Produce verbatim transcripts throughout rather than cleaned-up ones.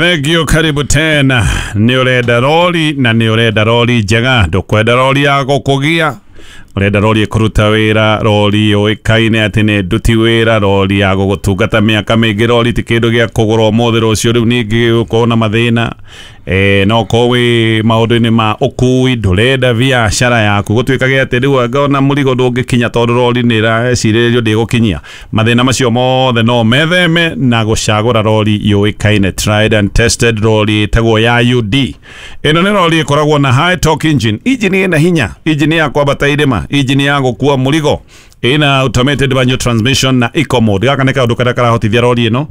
Thank you, karibu tena. Nĩ ũrenda rori na nĩ ũrenda rori njega, ndũkwenda rori ya gũkũgia, ũrenda rori ĩkũruta wĩra, rori yũĩkaine atĩ nĩ nduti wĩra, rori ya gũgũtungata mĩaka mĩingĩ, rori ti kĩndũ gĩa kũgũra ũmũthĩ rũciũ rĩu ningĩ ũkorwo na mathĩna. Eh, no ũkorwo wĩ maũndũ-inĩ ma ũkui, ndũrenda biacara yaku gũtuĩkage atĩ rĩu anga ona mũrigo ndũngĩkinya tondũ rori nĩ ĩrecirĩrio ndĩgũkinyia. Mathĩna macio mothe no metheme na gũcagũra rori yũĩkaine, tried and tested, rori ĩtagwo ya U D. Ĩno nĩ rori ĩkoragwo na high torque engine, engine ĩna hinya, engine ya kwambata irĩma, engine ya gũkua mũrigo, ĩna automated manual transmission na eco mode. Gaka nĩ kaũndũ karĩa karahotithia rori ĩno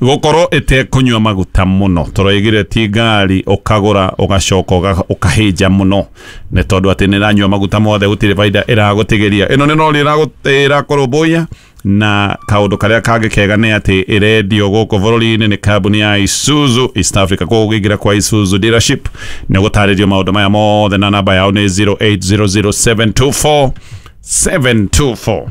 gũkorwo ĩtekũnyua maguta mũno, tũroigire ti ngari ũkagũra ũgacoka ũkahĩnja mũno nĩ tondũ atĩ nĩ ĩranyua maguta mothe, gũtirĩ baida ĩragũtigĩria. Ĩno nĩ rori ĩrakũrũmbũiya, na kaũndũ karĩa kangĩ kega nĩ atĩ ĩrendio gũkũ bũrũri-inĩ nĩ kambuni ya Isuzu East Africa. Koguo ũngĩingĩra kwa Isuzu dealership nĩ ũgũtarĩrio maũndũ maya mothe, na namba yao nĩ zero eight zero zero seven two four seven two four.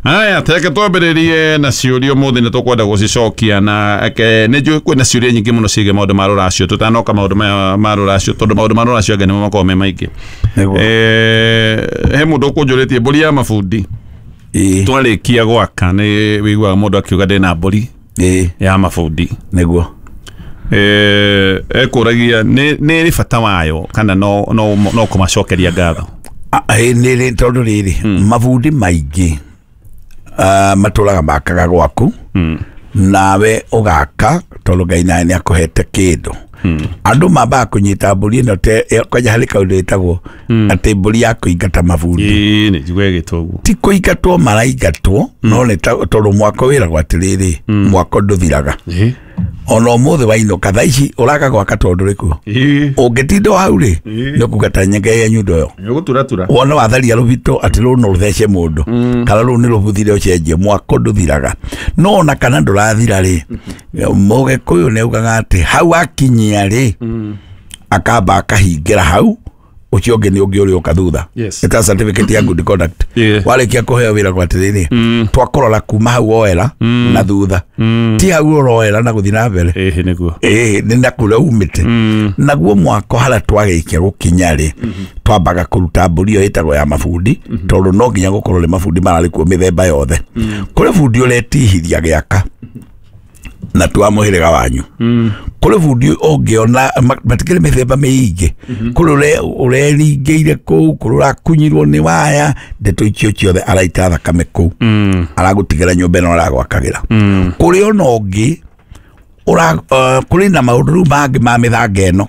Aya, teke twambĩrĩrie na ciũria ũmũthĩ nĩ tũkwenda gũcicokia, na nĩ njũĩ kwĩna ciũria nyingĩ mũno ciĩgiĩ maũndũ ma rũracio. Tũtanoka maũndũ maya ma rũracio, tondũ maũndũ ma rũracio angĩ nĩmo makoragwo me maingĩ. Eh, he mũndũ ũkũnjũrĩtie mbũri ya mabundi. Twarĩkia gwaka nĩ wĩiguaga mũndũ akiuga ndĩna mbũri ya mabundi. Nĩguo. Eh, ekũragia nĩ nĩ bata wayo kana no no no kũmacokeria ngatho? Nĩ tondũ rĩrĩ mabundi maingĩ Uh, matũraga makaga gwaku, mm. nawe ũgaka tondũ Ngai nawe nĩ akũhete kĩndũ. Mm. Andũ mambaga kũnyita mbũri ĩno kwanja harĩ kaũndũ ĩtagwo atĩ mbũri ya kũingata mabundi. Ĩĩ, nĩ njiguaga ĩgĩtwo ũguo. Ti kũingatwo maraingatwo, mm. no nĩ tondũ mwako wĩragwo atĩrĩrĩ, mm. mwako ndũthiraga. Ona ũmũthĩ wainũka thaa ici ũraka gwaka tondũ ndũrĩ kuo. Ũngĩtinda hau rĩ, nĩ ũkuga ta nyenge ya nyundo ĩyo. Nĩ ũgũturatura. Wona watharia rũbito atĩ rũu no rũthece mũndũ, kana rũu nĩ rũbuthire ũcenjie, mwako ndũthiraga. No ona kana ndũrathira rĩ, Mũgĩkũyũ nĩ augaga atĩ hau akinyia rĩ, akamba akahingĩra hau, ũcio ũngĩ nĩ ũngĩ ũrĩa ũka thutha. Ĩta certificate ya good conduct. Warĩkia kũheo wĩra kwa atĩrĩrĩ, twakũrora kuma hau woera na thutha. Ti hau ũroera na gũthiĩ na mbere. Ĩhĩ nĩguo. Ĩhĩ nĩ na kũrĩa umĩte. Naguo mwako harĩa twagĩkia gũkinya rĩ, twambaga kũruta mbũri ĩyo ĩtagwo ya mabundi, tondũ no nginya gũkorwo nĩ mabundi mararĩ kuo mĩthemba yothe. Kũrĩ bundi ũretihiria gĩaka na twa mũhĩrĩga wanyu. Kũrĩ bundi ũngĩona matikĩrĩ mĩthemba mĩingĩ, kũrĩ ũreringĩire kũu, kũrĩ ũrakunyirwo nĩ waya, ndeto icio ciothe araita thakame kũu, aragũtigĩra nyũmba ĩno aragwakagĩra. Kũrĩ ona ũngĩ kũrĩ na maũndũ rĩu mangĩ ma mĩthanga ĩno.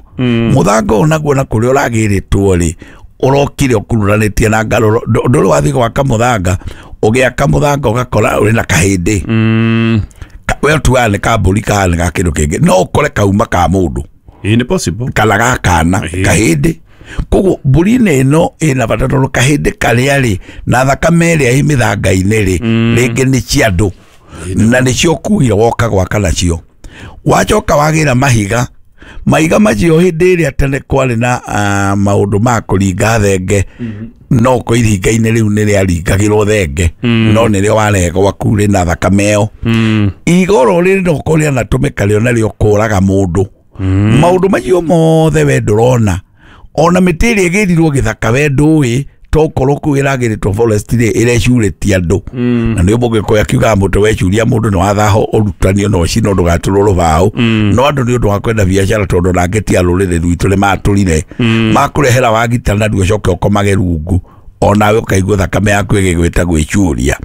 Mũthanga ũyũ naguo na kũrĩa ũragĩrĩtwo rĩ, ũrokire ũkururanĩtie na ngarũro. Ndũrĩ wathiĩ gwaka mũthanga, ũgĩaka mũthanga ũgakora ũrĩ na kahĩndĩ. We tuaga nĩ ka mbũri kana nĩ ga kĩndũ kĩngĩ, no ũkore kauma ka mũndũ. Ĩĩ nĩ possible. Kana ga kana kahĩndĩ. Koguo mbũri-inĩ ĩno ĩna bata tondũ kahĩndĩ karĩa rĩ na thakame ĩrĩa ĩ mĩthanga-inĩ rĩ, rĩngĩ nĩ cia andũ na nĩcio ũkuire woka gwaka nacio. Wacoka wagĩra mahiga, mahiga macio hĩndĩ ĩrĩa tene kwarĩ na maũndũ ma kũringa thenge, no kũ iringa-inĩ rĩu nĩ rĩaringagĩrwo thenge, no nĩrĩo warehe gwaku rĩ na thakame ĩyo. Igoro rĩrĩ no ũkorwo rĩanatũmĩka rĩo narĩo kũraga mũndũ. Maũndũ macio mothe we ndũrona. Ona mĩtĩ ĩrĩa ĩgĩrirwo gĩthaka we ndũĩ, tokorwo kũu ĩragĩrĩtwo forest rĩ ĩrecurĩtie andũ. Na nĩ Mũgĩkũyũ akiugaga mũtĩ wecuria mũndũ nĩ wathaho ũrutanio na ũcinwo ndũgatũrwo rũbaũ. No andũ nĩ ũndũ wa kwenda biacara tondũ nangĩ ti a rũrĩrĩ rwitũ nĩ matũrire. Makũrehera wagita naruo ũcoke ũkomage rungu, onawe ũkaigua thakame yaku ĩgĩgwĩta gwĩcuria.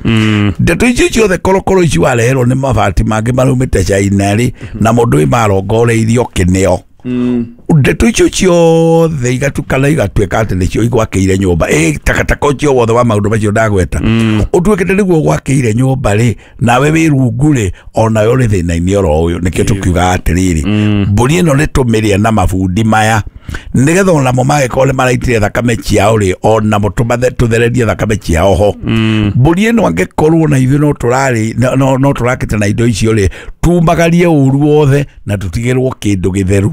Ndeto icio ciothe korokoro ici wareherwo nĩ mabati mangĩ maraumĩte China rĩ, na mũndũ wĩ marongoreirio kĩneo. Ndeto icio ciothe igatukana igatuĩka atĩ nĩcio igwakĩire nyũmba. Ĩ takataka ũcio wothe wa maũndũ macio ndagweta ũtuĩkĩte nĩguo gwakĩire nyũmba rĩ, nawe wĩ rungu rĩ, onawe ũrĩ thĩna-inĩ oro ũyũ. Nĩkĩo tũkiugaga atĩrĩrĩ, mbũri ĩno nĩ tũmĩrĩe na mabundi maya, nĩgetha onamo mangĩkorwo nĩ maraitire thakame ciao rĩ, onamo tũthererie thakame ciao ho. Mbũri ĩno angĩkorwo na ithuĩ no tũrarĩ no tũrakĩte na indo icio rĩ, tumagarie ũru wothe na tũtigĩrwo kĩndũ gĩtheru.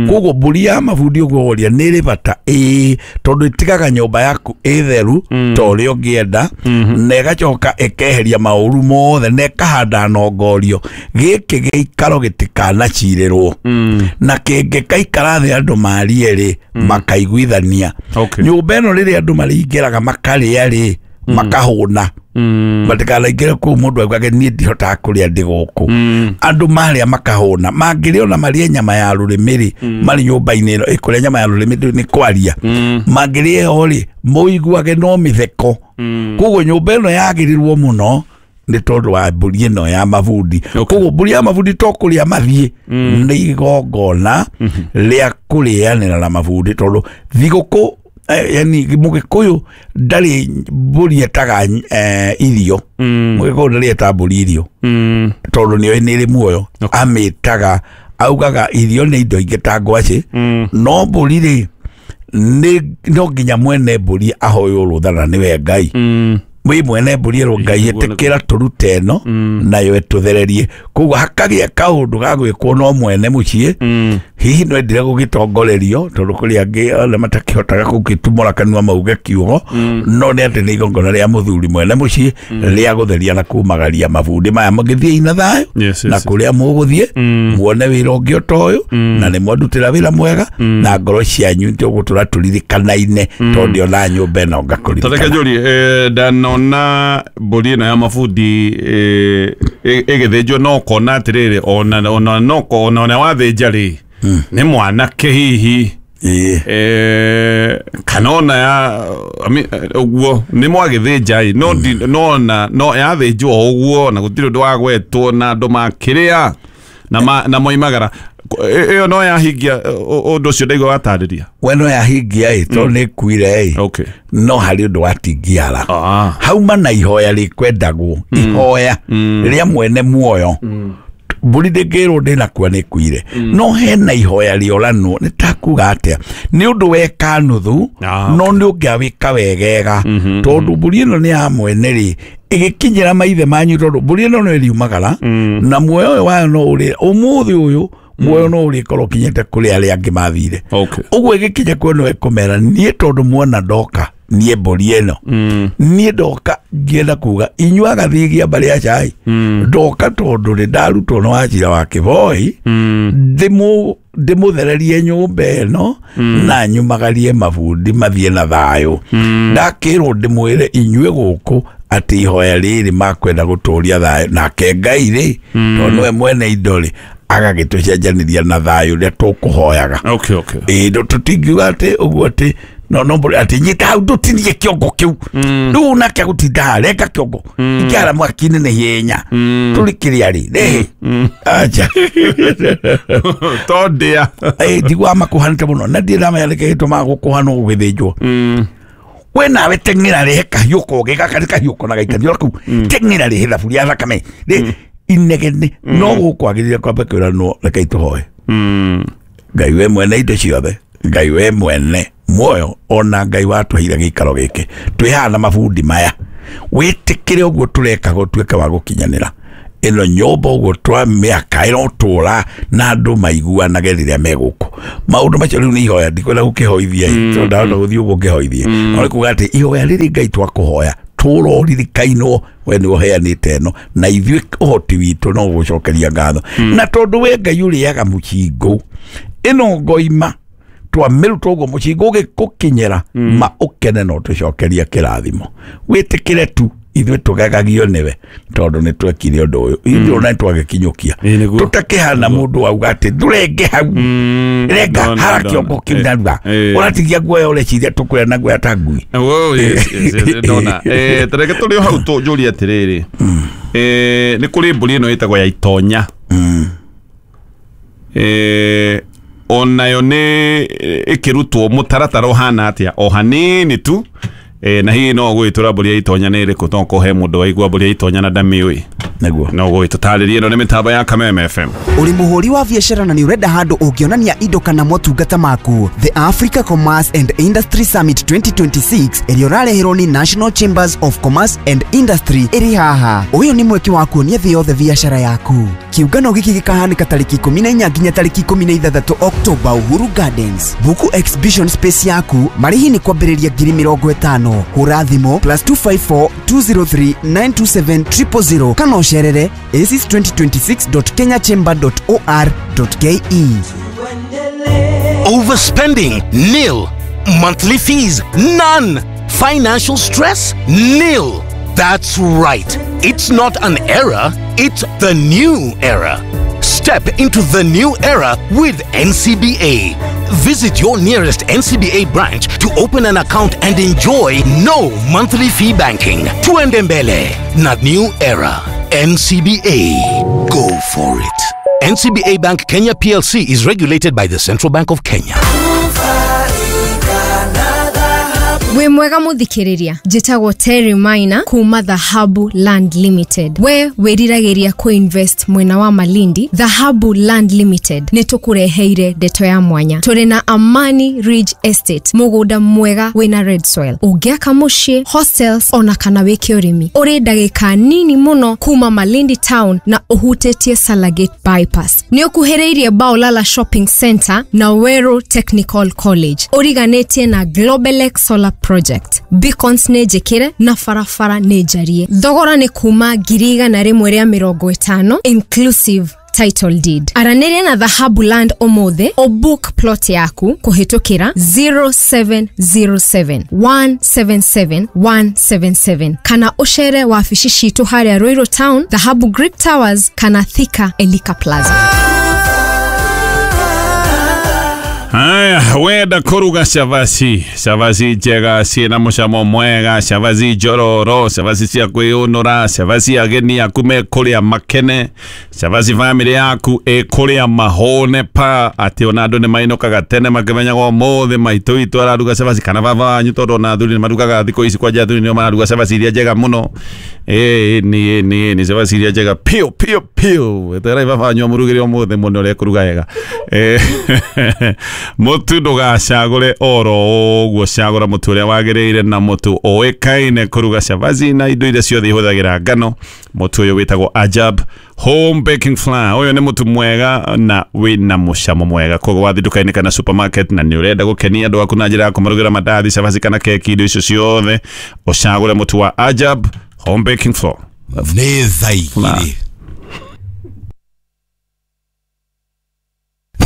Koguo Mbũri ya mabundi ũguo woria nĩ ĩrĩ bata, ĩĩ, tondũ ĩtigaga nyũmba yaku ĩtheru ta ũrĩa ũngĩenda, na ĩgacoka ĩkeheria maũru mothe na ĩkahanda nongorio. Gĩkĩ gĩikaro gĩtikanacirĩrwo, na kĩngĩkaikara thĩ andũ marie rĩ, makaiguithania. Okay. Nyũmba ĩno rĩrĩa andũ marĩingĩraga makarĩa rĩ, makahũna, matikanaingĩre kũu mũndũ augage niĩ ndihotaga kũrĩa ndĩ gũkũ. Andũ marĩa makahũna, mangĩrĩa ona marĩe nyama ya rũrĩmĩ rĩ, marĩ nyũmba-inĩ ĩno ĩkũrĩa nyama ya rũrĩmĩ ndũ- nĩ kwaria, mangĩrĩa ĩyo rĩ, mũiguage no mĩtheko. Koguo nyũmba ĩno yagĩrĩrwo mũno nĩ tondũ wa mbũri ĩno ya mabundi. Okay. Koguo mbũri ya mabundi to kũrĩa mathiĩ, nĩ igongona rĩa kũrĩanĩra na mabundi, tondũ thigũkũ eh, yani mũgĩkũyũ ndarĩ mbũri etaga eh, irio. Mũgĩkũyũ ndarĩ eta mbũri irio, Mm. tondũ nĩoĩ nĩ ĩrĩ muoyo. Okay. Amĩtaga, augaga irio nĩ indo ingĩ ta ngwacĩ, Mm. no mbũri rĩ, nĩ no nginya mwene mbũri ahoywo rũtha na nĩwe Ngai. Mm. Wĩ mwene mbũri ĩrwo Ngai, Nĩguo, nĩguo. ĩtĩkĩra tũrute ĩno nayo ĩtũthererie. Koguo hakagĩa kaũndũ ga gwĩkwo no mwene mũciĩ. Mm. Hihi no endire gũgĩtongorerio, tondũ kũrĩ angĩ ona matakĩhotaga gũgĩtumũra kanua mauge kiugo, no nĩ atĩ nĩ igongona rĩa mũthuri mwene mũciĩ rĩa gũtheria na kumagaria mabundi maya mũgĩthiĩ na thayũ Yes, yes, na yes. kũrĩa mũgũthiĩ muone wĩra ũngĩ ota ũyũ, na nĩ mwandutĩra wĩra mwega na ngoro cianyu tũgũtũra tũririkanaine, tondũ ndĩona nyũmba ĩno Tareke ngakũririkana. njũrie, eh, ndanona mbũri ĩno ya mabundi eh, ĩ- ĩgĩthĩnjwo, no ũkona atĩrĩrĩ, ona ona no ona ona wathĩnja rĩ, nĩ mwanake hihi, Ĩĩ. eh, kana ona ya I mean, eh, ũguo nĩ mwagĩthĩnja ĩ, no ndi- no ona no yathĩnjwo o ũguo na gũtirĩ ũndũ wagwetwo na andũ makĩrĩa na ma- na moimagara. Ĩ- ĩyo no yahingia eh, ũ- ũndũ ũcio ndaigua watarĩria. We no yahingia ĩ, tondũ nĩ ĩkuire ĩ, Okay. no harĩ ũndũ watingiara. Ah. Hauma na ihoya rĩkwendagwo, ihoya rĩa mwene muoyo. Mbũri ndĩngĩrwo ndĩnakua, nĩ ĩkuire, no hena ihoya rĩoranwo. Nĩ takuga atĩa, nĩ ũndũ weka nuthu, Ah, no nĩ ũngĩawĩka wegega, tondũ mbũri ĩno nĩ ya mwene rĩ, ĩgĩkinyĩra maithe manyu, tondũ mbũri ĩno no ĩriumagara na muoyo ũyũ wayo no ũrĩ ũmũthĩ ũyũ, muoyo no ũrĩkorwo ũkinyĩte kũrĩ arĩa angĩ mathire. Okay. Ũguo ĩgĩkinya kuo no ĩkũmera niĩ, tondũ muona ndoka niĩ mbũri ĩno, niĩ ndoka ngĩenda kuga inyuĩ agathigia mbarĩ ya cai, ndoka tondũ nĩ ndarutwo nĩ wacira wa kĩboi, ndĩmũ ndĩmũthererie nyũmba ĩno na nyumagarie mabundi mathiĩ na thayũ. Ndakĩrwo ndĩmwĩre inyuĩ gũkũ atĩ ihoya rĩrĩ makwenda gũtũria thayũ, nake Ngai rĩ, tondũ nĩwe mwene indo rĩ, agagĩtũcenjanĩria na thayũ ũrĩa tũkũhoyaga. Okay, okay. Ĩĩ, ndũ- tũtingiuga atĩ ũguo atĩ no no mbũri atĩ nyita hau ndũtinie kĩongo kĩu, rĩu nake agũtinda haha renga kĩongo ikĩara mwaki-inĩ nĩ hinya tũrĩ kĩrĩa rĩ rĩ acha. Tondĩa. Ĩ, ndiguaga makũhanĩte mũno na ndirĩ ndamenya nĩkĩ gĩtũmaga gũkũhanwo gũgĩthĩnjwo. We nawe teng'era rehe kahiũ kogĩ gaka nĩ kahiũ kona gaikanio kau, teng'era rehe thaburia ya thakame rĩ inegene. No gũkwagĩrĩire kwamba kwĩranwo, rekei tũhoe. Ngai we mwene indo ciothe, Ngai we mwene muoyo, ona Ngai watũheire gĩikaro gĩkĩ twĩ haha na mabundi maya, wĩtĩkĩre ũguo tũreka gũtuĩke wa gũkinyanĩra ĩno nyũmba ũguo twa mĩaka ĩrotũra na andũ maiguanage rĩrĩa me gũkũ. Maũndũ macio rĩu nĩ ihoya, ndikwenda gũkĩhoithia ĩ, tondũ ndahota gũthiĩ ũguo ngĩhoithie, no nĩ kuga atĩ ihoya rĩrĩ Ngai twakũhoya tũroririkainwo we nĩ ũheanĩte ĩno, na ithuĩ ũhoti witũ no gũcokeria ngatho, na tondũ we Ngai ũrĩaga mũcingũ ĩno ngoima twamĩruta ũguo mũcingo ũgĩkũkinyĩra ma ũkene no tũcokerie kĩrathimo, wĩtĩkĩre tu ithuĩ tũgegagio nĩwe tondũ nĩ twekire ũndũ ũyũ, ithuĩ ona nĩ twagĩkinyũkia. Ĩĩ, nĩguo. Tũtakĩhana mũndũ auga atĩ ndũrenge hau, renga ndona, hara ndona. kĩongo kĩu Eh, narua eh. ũratigia guoya ũreciria tũkũrĩa na guoya ta ngui. Oh, yes, yes, yes, ndona. Eh, tareke tũrĩ o hau tũnjũrie atĩrĩrĩ, eh, nĩ kũrĩ mbũri ĩno ĩtagwo ya itonya. Eh, onayo nĩ ĩkĩrutwo mũtaratara ũhana atĩa o hanini tu? E, na hihi no gwĩtũra mbũri ya itonya nĩ ĩrĩkũ to kũhe mũndũ waigua mbũri ya itonya na ndamĩũĩ nĩguo no gwĩtũtarĩrie. Ĩno nĩ mĩtambo ya Kameme F M. Uri muhuri wa biashara na ni urenda handu ungionania indo kana motungata maku. The Africa Commerce and Industry Summit twenty twenty-six ĩrĩa ũrareherwo ni National Chambers of Commerce and Industry ĩrĩ haha. Ũyũ nĩ mweke wa kuonia thĩ yothe biashara yaku. Kiũngano gĩkĩ gĩkahanĩka tarĩki ikũmi na inya nginya tarĩki ikũmi na ithathatũ October Uhuru Gardens. Buku exhibition space yaku, marĩhi nĩ kwambĩrĩria ngiri mĩrongo ĩtano. Hũra thimũ plus two five four two zero three nine two seven triple zero kana ũcerere aces twenty twenty-six dot kenya chamber dot or dot K E. Overspending? Nil. Monthly fees? None. Financial stress? Nil. That's right. It's not an era, it's the new era. Step into the new era with N C B A. Visit your nearest N C B A branch to open an account and enjoy no monthly fee banking. Tuende mbele na new era. N C B A. Go for it. N C B A Bank Kenya P L C is regulated by the Central Bank of Kenya. We mwega muthikiriria njitagwo Terry Maina kuma Dhahabu Land Limited. We wiriragiria ku invest mwena wa Malindi. Dhahabu Land Limited ni tukureheire ndeto ya mwanya. Turi na Amani Ridge Estate, mugunda mwega wina red soil, ungiaka muciĩ, hostels ona kana wike urimi. Uri ndagika nini muno kuma Malindi town na uhutetie Salagate bypass. Ni ukuhĩrĩirie Baolala Shopping Center na Weru Technical College. Uriganĩtie na Globelex Solar Project. Beacons nĩ njĩkĩre na barabara nĩ njarie. Thogora nĩ kuma ngiri igana rĩmwe rĩa mĩrongo ĩtano inclusive title deed. Aranĩria na Dhahabu Land ũmũthĩ o book plot yaku kũhĩtũkĩra zero seven zero seven one seven seven one seven seven kana ũcere wabici citũ harĩa Ruiru Town, Dhahabu Greek Towers kana Thika Elika Plaza. Haya, wenda kuruga cavaci, cavaci njega ciĩna mũcamo mwega, cavaci njororo, cavaci cia kwĩyũnũra, cavaci ageni aku mekũrĩa makene, cavaci family yaku ĩkũrĩa mahũne pa atĩ ona andũ nĩ mainũkaga tene makĩmenyaga ũmũthĩ maitũ witũ araruga cavaci kana baba wanyu, tondũ ona athuri nĩ marugaga thikũ ici, kwanja athuri nĩo mararuga cavaci iria njega mũno. Ĩĩ nĩ nĩ nĩ cavaci iria njega piũ piũ piũ. Etererai baba wanyu amũrugĩre ũmũthĩ mũno ũrĩa ekũruga wega. Mũtu ndũgacagũre oro ũguo, cagũra mũtu ũrĩa wagĩrĩire na mũtu ũĩkaine kũruga cavaci na indo iria ciothe ihũthagĩra ngano. Mũtu ũyũ wĩtagwo Ajab Home Baking Flour. Ũyũ nĩ mũtu mwega na wĩna mũcamo mwega. Koguo wathiĩ nduka-inĩ kana supermarket na nĩ ũrenda gũkenia andũ aku na njĩra ya kũmarugĩra mandathi, cavaci kana keki, indo icio ciothe, ũcagũre mũtu wa Ajab Home Baking Flour. Nĩ thaa igĩrĩ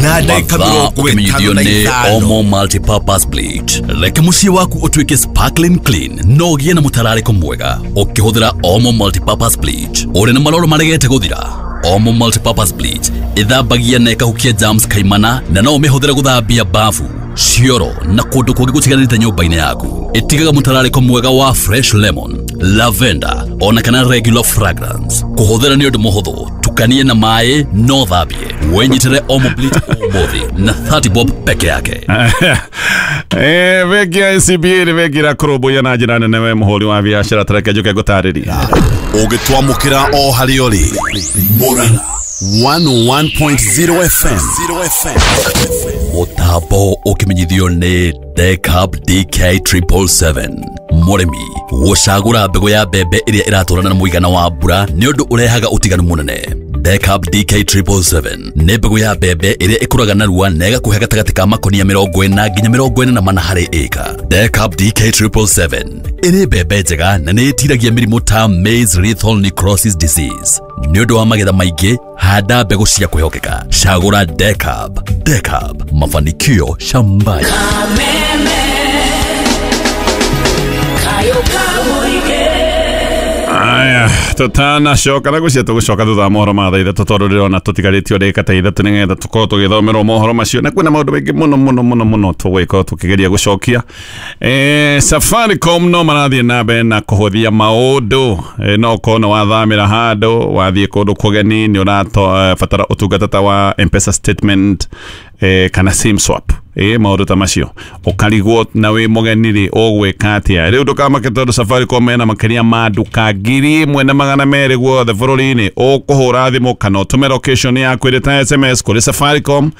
na ndagĩka mĩrongo ĩtano na ithano. Omo Multipurpose Bleach. Reke mũciĩ waku ũtuĩke sparkling clean no ũgĩe na mũtararĩko mwega ũkĩhũthĩra Omo Multipurpose Bleach. Ũrĩ na maroro maregete gũthira, Omo Multipurpose Bleach ĩthambagia na ĩkahukia germs kaimana na no ũmĩhũthĩre gũthambia bafu, cioro na kũndũ kũngĩ gũtiganĩte nyũmba-inĩ yaku. Ĩtigaga mũtararĩko mwega wa fresh lemon, lavender ona kana regular fragrance. Kũhũthĩra nĩ ũndũ mũhũthũ, tukanie na maĩ no thambie. Wenyitĩre Omo Bleach ũmũthĩ na thirty bob peke yake. Eh, bengi ya N C B A nĩ bengi ĩrakũrũmbũiya na njĩra nene we mũhũri wa biacara. Tareke njũke ngũtarĩrie. Ũngĩtwamũkĩra o harĩa ũrĩ Murang'a one oh one point zero F M. Mũtambo ũkĩmenyithio nĩ Decab D K triple seven. Mũrĩmi gũcagũra mbegũ ya mbembe ĩrĩa ĩratwarana na mũigana wa mbura nĩ ũndũ ũrehaga ũtiganu mũnene. Decab D K triple seven nĩ mbegũ ya mbembe ĩrĩa ĩkũraga narua na ĩgakũhe gatagatĩ ka makonia mĩrongo ĩna nginya mĩrongo ĩna na mana harĩ ĩka. Decab D K triple seven ĩrĩ mbembe njega na nĩ ĩtiragia mĩrimũ ta maize lethal necrosis disease. Nĩ ũndũ wa magetha maingĩ, handa mbegũ cia kwĩhokeka. Cagũra Decab. Decab, mafanikio shambani. Aya, tutanacoka na gucia tugucoka thutha wa mohoro ma thaa ithatũ tondũ ndĩrona tũtigarĩtio ndagĩka ta ithatũ nĩgetha tũkorwo tũgĩthomerwo mohoro macio, na kwĩna maũndũ maingĩ mũno mũno mũno mũno tũgũgĩkorwo tũkĩgeria gũcokia. Eh, Safaricom no marathiĩ na mbere na kũhũthia maũndũ. Eh, no ũkorwo nĩ wathamĩra handũ, wathiĩ kũndũ kũgeni, nĩ ũrabatara ũtungata ta wa M-Pesa statement, eh, kana SIM swap. Ĩ maũndũ ta macio ũkarigwo na wĩ mũgeni rĩ ũgwĩka atĩa rĩu ndũkamake tondũ Safaricom mena makĩria ma nduka ngiri ĩmwe na magana merĩ guothe bũrũri-inĩ. Ũkũhũra thimũ kana ũtũme location yaku ĩrĩ ta S M S kũrĩ Safaricom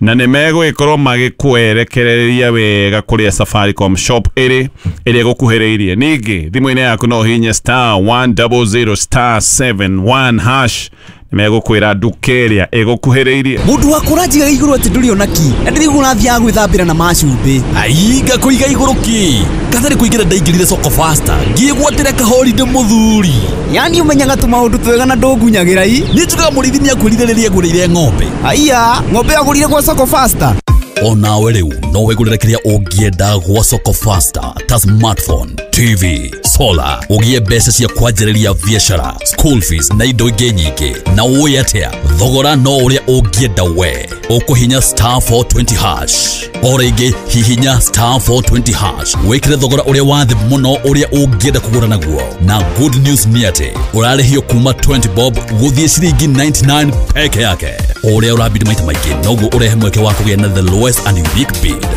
na nĩ megũgĩkorwo magĩkwerekereria wega kũrĩa Safaricom shop ĩrĩ ĩrĩa ĩgũkuhĩrĩirie. Ningĩ thimũ-inĩ yaku no ũhihinye star one double zero star seven one hash megũkwĩra nduka ĩrĩa ĩgũkuhĩrĩirie. Mũndũ wa kũranjiga igũrũ atĩ ndũrĩ ona ki na ndĩrĩguo ũrathiaga gwĩthambĩra na macumbĩ. Ai ngakũiga igũrũ ki katarĩ kũingĩra ndaingĩrire soko faster ngĩgwatĩra kahorinde mũthuri. Yani ũmenyaga tũmaũndũ twega na ndũngunyagĩra i. Niĩ njugaga mũrĩithi nĩakwĩrire rĩrĩa agũrĩire ng'ombe. Aiya ng'ombe agũrire gwa soko faster. Onawe rĩu no wĩgũrĩre kĩrĩa ũngĩenda gwa soko faster ta smartphone, T V, solar, ũgĩe mbeca cia kwanjĩrĩria biacara, school fees na indo ingĩ nyingĩ. Na ũĩ atĩa thogora no ũrĩa ũngĩenda we. Ũkũhinya star four twenty hash o rĩngĩ hihinya star four twenty hash wĩkĩre thogora ũrĩa wa thĩ mũno ũrĩa ũngĩenda kũgũra naguo. Na good news nĩ atĩ ũrarĩhio kuma twenty bob gũthiĩ ciringi ninety nine peke yake. Ũrĩa ũrabidi maita maingĩ noguo ũrehe mweke wa kũgĩa na the lowest and unique bid.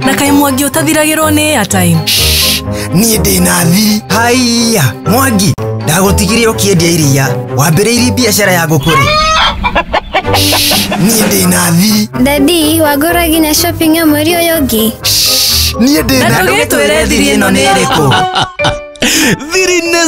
Na kaĩ Mwangi ũtathiragĩrwo nĩ airtime? Niĩ ndĩna thiri. Haiya Mwangi, ndagũtigire ũkĩendia iria, wambĩrĩirie biacara ya ngũkũ rĩ? Niĩ ndĩna thiri. Dadi, wagũra nginya shopping ya mweri ũyũ ũngĩ? Niĩ ndĩna. Na ndũgĩtwĩre thiri ĩno nĩ ĩrĩkũ? Thiri nĩ